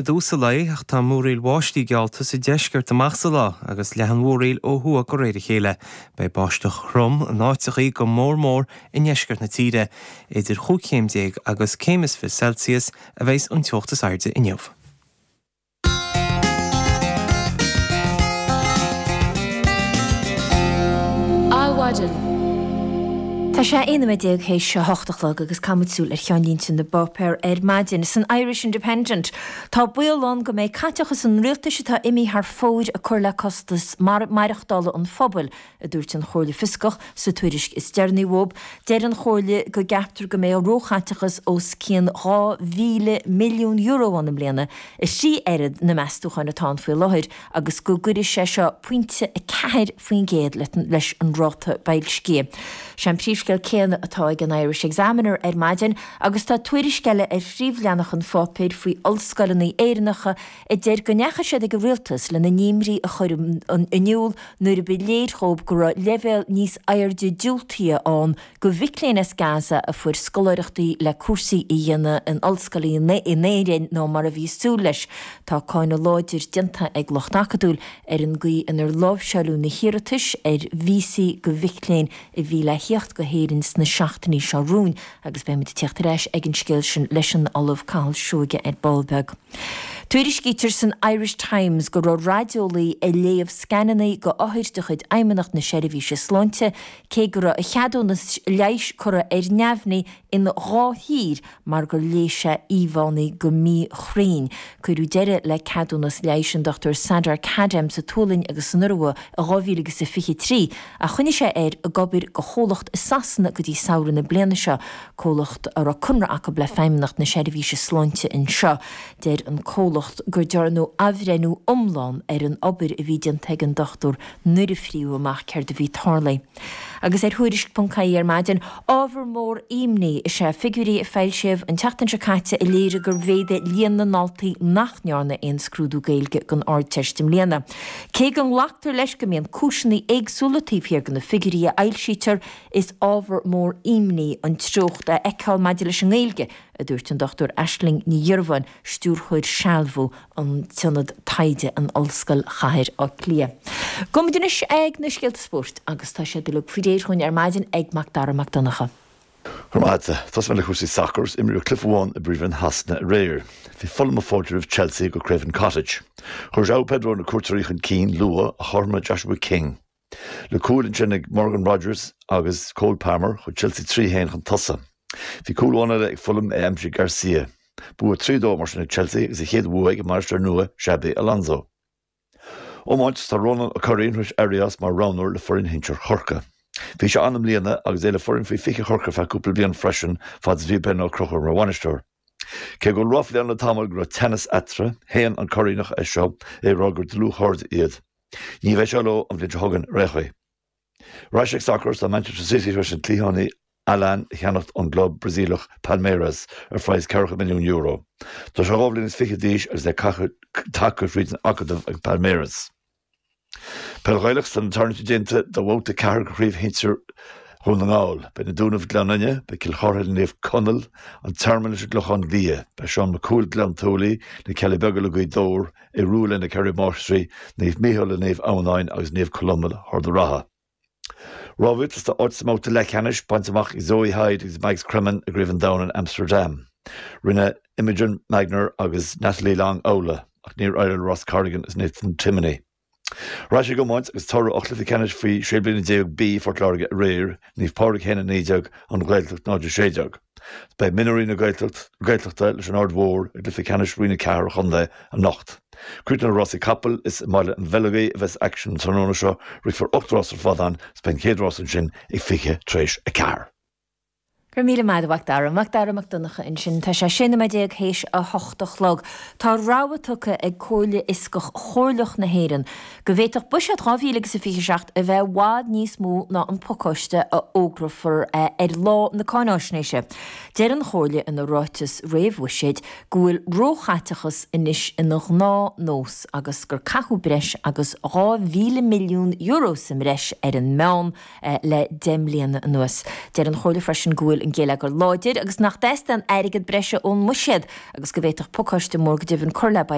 I dtús an lae, ach tá múraíl bháistí geallta sa deisceart amach sa lá agus leathfaidh an mhúraíl ó thuaidh de réir a chéile. Beidh báisteach throm in áiteachaí go mór mór i ndeisceart na tíre. Idir chúig chéim déag agus céim is 20 Celsius a bheas an teocht is airde inniu. Adhmhaidin. Tá sé 11 nóiméad théis a hocht a chlog agus caithfimid súil ar cheannlínte na bpáipéar ar maidin. San Irish Independent, tá baol ann go mbeidh caiteachas an rialtais atá imithe thar fóir ag cur le costas maireachtála an phobail, a dúirt an Chomhairle Fioscach sa tuairisc is deireanaí uathub. Deir an Chomhairle go gceaptar go mbeidh róchaiteachas os cionn €2,000 milliún ann i mbliana, a thrí oiread na meastúcháin atá ann faoi láthair, agus go gcuirfidh sé seo pointe 4% leis an ráta boilscithe. Sé an príomhscéal céanna atá ag an Irish Examiner ar maidin agus tá tuairisc eile ar phríomhleathanach an pháipéir faoi ollscoileanna Éireannacha a deir go ndeachaigh siad ag an rialtas lena n-imní a chur in iúl nuair a ba léir dhóibh go raibh leibhéal níos airde diúltaithe ann do mhic léinn as Gaza a fuair scoláireachtaí le cúrsaí a dhéanamh in ollscoileanna in Éirinn ná mar a bhí súil leis. Tá cáineadh láidir déanta ag lucht acadúil ar an gcaoi inar láimhseáileadh na hiarratais ar víosaí do mhic léinn a bhí le thíocht go hÉirinn sna seachtainí seo romhainn agus beimid ag tíocht ar ais ag an scéal sin leis an Ollamh Cathal Seoige ar ball beag. Tuairiscítear san Irish Times go raibh raideolaí ag léamh scananna go othair de chuid Fheidhmeannacht na Seirbhíse Sláinte cé go raibh a cheadúnas leighis curtha ar neamhní in 2 thír mar gur léigh sé íomhánna go míchruinn. Cuireadh deireadh le ceadúnas leighis an Dr Sardar Khadem sa tSualainn agus san Iorua i 2023 ach choinnigh sé air ag obair do chomhlacht i Sasana go dtí samhradh na bliana seo, comhlacht a raibh conradh acu le Feidhmeannacht na Seirbhíse Sláinte anseo. Deir an comhlacht gur dearnadh athbhreithniú iomlán ar an obair a bhí déanta ag an dochtúir nuair a fríodh amach céard a bhí tarlaithe. Agus ar Thuairisc ponc ie ar maidin, ábhar mór imní is ea figiúirí a foilsíodh an tseachtain seo caite a léirigh gur mhéadaigh líon na ndaltaí nach ndearna aon scrúdú Gaeilge don Ardteist i mbliana. Cé go nglactar leis go mbíonn cúiseanna éagsúla taobh thiar de na figiúirí a fhoilsítear, is ábhar mór imní an treocht a fheiceáil maidir leis an nGaeilge, a dúirt an Dr Aisling Ní Dhiorbháin, Stiúrthóir Sealbhú an tIonad Taighde in Ollscoil Chathair Átha Cliath. Gabhfaimid anois ag na scéalta spóirt agus tá siad uilig faoi réir dhúinn ar maidin ag Mac Dara Mac Donncha. Go raibh maith agat. Tosóidh mé le cúrsaí sacair is imríodh cluiche amháin i bPríomhroinn Shasana aréir. Bhí Fulham ag fáiltiú roimh Chelsea go Craven Cottage. Chuir João Pedro na cuairteoirí chun cinn luath ach chothromaigh Joshua King. Le cúil ansin ag Morgan Rogers agus Cole Palmer, chuaigh Chelsea 3 1 chun tosaigh. Bhí cúl amháin eile ag Fulham, é aimsithe ag Garcia. Bua 3 2 mar sin ag Chelsea agus a chéad bhua ag an mbainisteoir nua Xabi Alonso. Iomáint, Tá Rónán Ó Curraoin tar éis éirí as mar roghnóir le foireann shinsir Chorcaí. Bhí sé ann i mbliana agus é le foireann faoi 20 Chorcaí ar feadh cúpla bliain freisin fad is a bhí Ben Ó Conchúir mar bhainisteoir. Cé go bhfuil ráflaí ann le tamall go raibh teannas eatarthu, shéan an Curraoineach é seo, é ag rá gur dlúthchairde iad. Ní bheidh sé leo an bhliain seo chugainn ar aon chaoi. Ar ais ag sacar, tá Manchester City tar éis an cliathánaí Allan a cheannacht ón gclub Brasaíleach Palmeiras ar phraghas €40 milliún. Tá sé 22 bhliain d'aois agus é tagtha fríd an acadamh ag Palmeiras. Peil Ghaelach, Tá na tarraingtí déanta do bhabhta 4 de Chraobh Shinsir Dhún na nGall. Beidh na Dúnaibh Gleann Fhinne, beidh Cill Chartha le Naomh Conaill, An Tearmann leis an gClochán Liath, beidh Seán Mac Cumhaill Gleann tSúilí, Na Cealla Beaga le Gaoth Dobhair, Aodh Rua le Na Ceithre Máistrí, Naomh Mícheál le Naomh Adhamhnáin agus Naomh Columba le hArd an Rátha. Rámhaíocht, Tá áit sa mbabhta leathcheannais bainte amach ag Zoe Hyde agus Mags Cremen i gCraobh an Domhain in Amsterdam. Rinne Imogen Magner agus Natalie Long amhlaidh ach níor éirigh le Ross Corrigan agus Nathan Timoney. Ar ais ag iomáint agus toradh ó chluiche ceannais faoi 16 bliana B Phort Láirge aréir, Naomh Pádraig 1-19, An Ghaeltacht 0-16. Beidh mionúirí na Gaeltachta leis an Aird Mhór i gcluiche ceannais Roinn 4 an chontae anocht. Críochnóidh rásaí capall is i mBaile an Bheilg a bheas aicsean an tráthnóna seo. Rithfear 8 rás ar fad ann is beidh an chéad rás ansin ag 4:20. Go raibh míle maith agat a Mhac Dara. Mac Dara Mac Donncha ansin. Tá sé 16 nóiméad théis a hocht a chlog. Tá rabhadh tugtha ag Comhairle Fhioscach Chomhairleach na hÉireann go bhféadfadh buiséad 2027 a bheith i bhfad níos mó ná an pacáiste a fhógrófar ar lá na cáináisnéise. Deir an Chomhairle ina ráiteas réamhbhuiséid go bhfuil róchaiteachas anois ina ghnáthnós agus gur caitheadh breis agus €2,000 milliún sa mbreis ar an meán le 10 mbliana anuas. Deir an Chomhairle freisin go bhfuil. bhfuil an geilleagar láidir agus nach dteastaíonn airgead breise ón mbuiséad agus go bhféadfadh pacáiste mór go deimhin cur le.